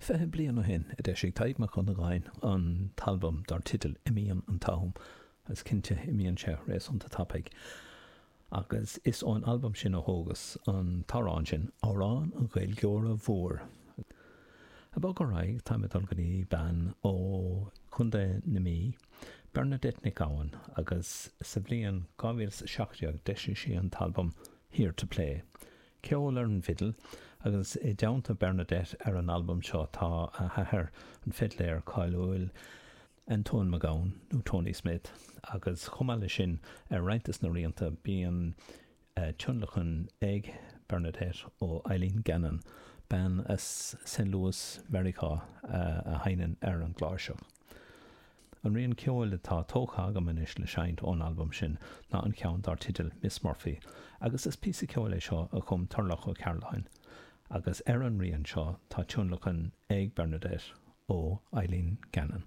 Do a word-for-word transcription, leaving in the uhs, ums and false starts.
Fiche bliain ó shin a d'eisigh Tadhg Mac Dhonnagáin an t-albam dar teideal Imíonn an t-Am, agus cinnte imíonn sé réasúnta tapaidh. Agus is ón albam sin a thógas an t-amhrán sin, Amhrán an Ghaeilgeora Mhóir. Ag bogadh ar aghaidh, táim ag dul go dtí bean ó Chontae na Mí, Bernadette Nic Gabhann, agus sa bhliain dhá mhíle is a seacht déag d'eisigh sí an t-albam Here to Play. Ceol ar an bhfidil, agus i dteannta Bernadette ar an albam seo tá a hathair, an fidléir cáiliúil Antoin Mac Gabhann, nó Tony Smith, agus chomh maith leis sin ar roinnt de na rianta bíonn tionlacan ag Bernadette ó Eileen Gannon, bean as Saint Louis, Meiriceá, a sheinneann ar an gcláirseach. An rian ceoil atá tógtha agam anois le seinnt ón albam sin ná an ceann dar teideal Miss Murphy agus is píosa ceoil é seo a chum Turlough Ó Cearláin agus ar an rian seo tá tionlacan ag Bernadette ó Eileen Gannon.